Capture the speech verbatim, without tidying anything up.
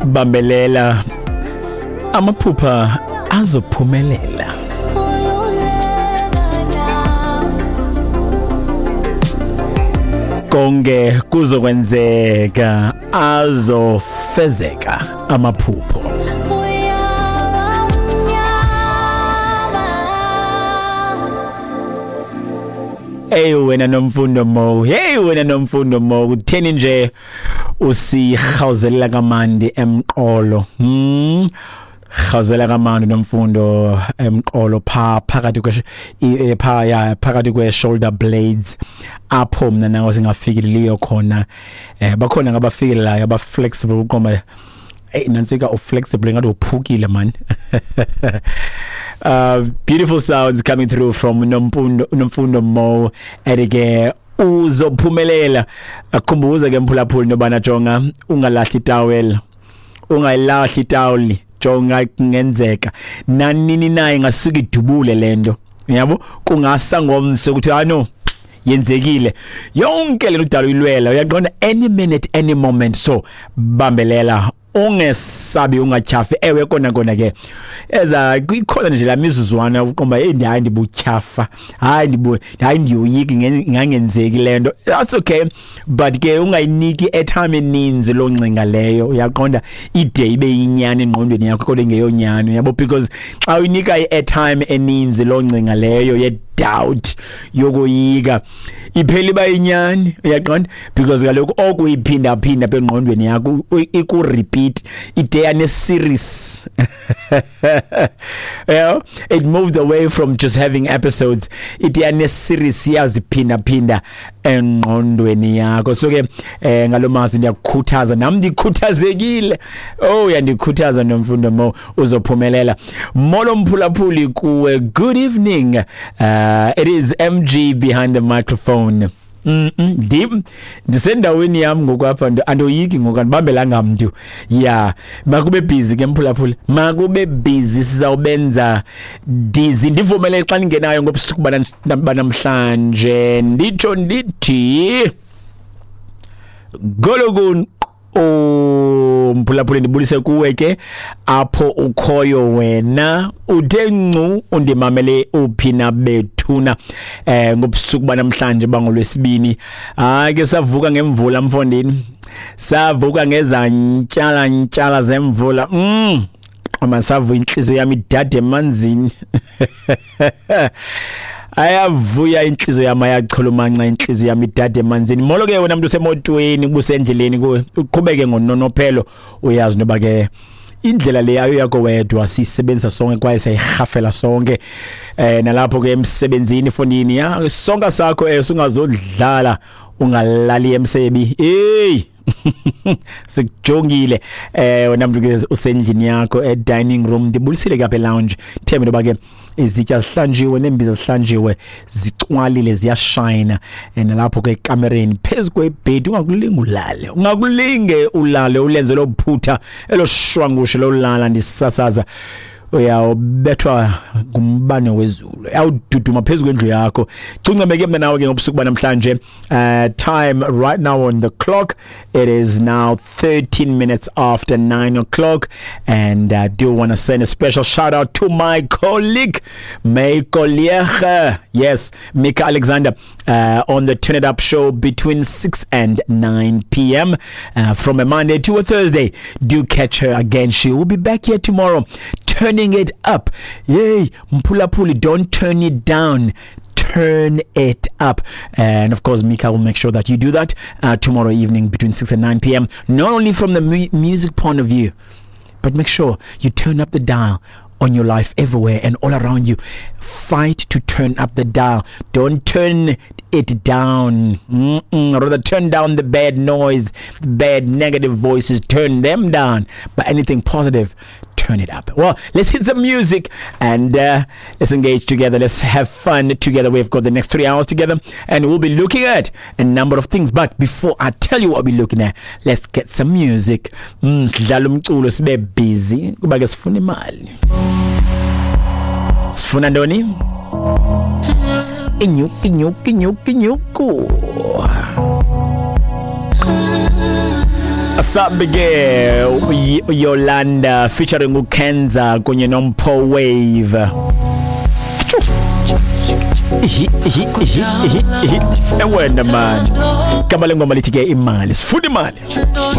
Bambelela, amaphupha azophumelela. Konke kuzokwenzeka, azofezeka amaphupho. Hey wena Nomfundo Mo, hey wena Nomfundo Mo, kutheni nje usihawuzelela kamandi emqolo? Hmm Khawuzela kamandi Nomfundo emqolo pha phakathi kwe pha ya phakathi kwe shoulder blades apho mina nawe singafikeliyo khona. Eh bakhona ngabafikelayo aba flexible uqoma. Hey nansika u flexible ngathi uphukile man. Uh, beautiful sounds coming through from Nomfundo Nomfundo Mo. Erike uzophumelela. Akhumbuza ke mphulaphuli nobana jonga ungalahli towel, ungayilahli towel, jonga kungenzeka nanini naye ngasuka idubule lento, yabo, kungasa ngomse ukuthi ano yenzekile yonke le udalo ilwela, uyaqonda, any minute any moment. So bambelela, ungesabi, ungatyhafi. Ewe kona kona ke eza ikhona nje la mizuzwana uqomba hey hayi ndibutyhafa, hayi ndibu hayi ndiyoyiki ngangenzeki lento. That's okay, but ke ungayiniki airtime eninzi lo ncinga leyo, uyaqonda, ide ibe yinyani engqondweni yakho kodwa ingeyonyani, yabo, because xa uyinika i-airtime eninzi lo ncinga leyo ye doubt yokoyika iphela iba inyani, uyaqonda, because kaloku okuyiphinda phinda engqondweni yakho iku repeat ide yane series. Yeah, it moved away from just having episodes, ide yane series yaziphinda phinda engqondweni yakho. So ke eh ngalomazwi ndiyakukhuthaza, nami ndikhuthazekile. Oh yandikhuthaza Nomfundo Mo, uzophumelela. Molo mphulaphuli kuwe, good evening. Uh, it is M G behind the microphone. Mm -mm. Ndisendaweni yami ngokwapha andoyiki ngoku andibambelanga mntu. Yeah, makube busy ke mphulaphuli, makube busy, sizawubenza dizzy. Ndivumele xa ningenayo ngobusuku banamhlanje, nditsho ndithi gologun. Oh mphulaphuli, ndibulise kuwe ke apho ukhoyo wena, uthe ncu undimamele uphi na bethuna eh ngobusuku banamhlanje bangolwesibini. Hayi ke savuka ngemvula mfondini, savuka ngezantyala ntyala zemvula. Mm amasavu inhliziyo yami idade emanzini. Ayavuya inhliziyo yami, ayachulumanca inhliziyo yami idade emanzini. Molo ke wena mntu usemotweni, ubusendleleni, uqhubeke ngononophelo, uyazi noba ke indlela le ayo yakho wedwa, sisebenzisa sonke kwaye siyihafela sonke. Eh nalapho ke emsebenzini fondini ya sonke sakho eh sungazodlala ungalali emsebi. Hey sikujongile eh wena mntu ke usendlini yakho e dining room, ndibulisile ke apha e lounge. Thembe noba ke izitya zihlanjiwe nembiza zihlanjiwe, zicwalile, ziyashine. Nalapho ke ekamereni phezu kwebhedi, ungakulinge ulale, ungakulinge ulale ulenze lo phutha eloshwangushe lolala ndisasaza, uyawubethwa ngumbane wezulu, awududuma phezu kwendlu yakho. Cuncameke mina nawe ke ngobusuku banamhlanje. Uh, time right now on the clock, it is now thirteen minutes after nine o'clock, and I do want to send a special shout out to my colleague, my colleague, yes, Mika Alexander, uh, on the Turn It Up show between six and nine p m uh, from a Monday to a Thursday. Do catch her again. She will be back here tomorrow, turning it up. Yay, Mpulapuli, don't turn it down. Turn it up. And of course, Mika will make sure that you do that uh, tomorrow evening between six and nine p m. Not only from the mu- music point of view, but make sure you turn up the dial on your life everywhere and all around you. Fight to turn up the dial. Don't turn it down. Mm-mm. Rather turn down the bad noise, bad negative voices. Turn them down. But anything positive, turn it up. Well, let's hit some music and uh, let's engage together. Let's have fun together. We've got the next three hours together and we'll be looking at a number of things. But before I tell you what we're looking at, let's get some music. Mm, sidlala umculo sibe busy kuba ke sifuna imali. Sifuna ntoni? Inyuku, inyuku, inyuku, inyuku. Asambe ke Yolanda featuring uKenza kunye noMpho Wave. Ihi ihi ihi ihi ihi. Ewena man. Gama lengoma lithi ke imali. Sifuna imali.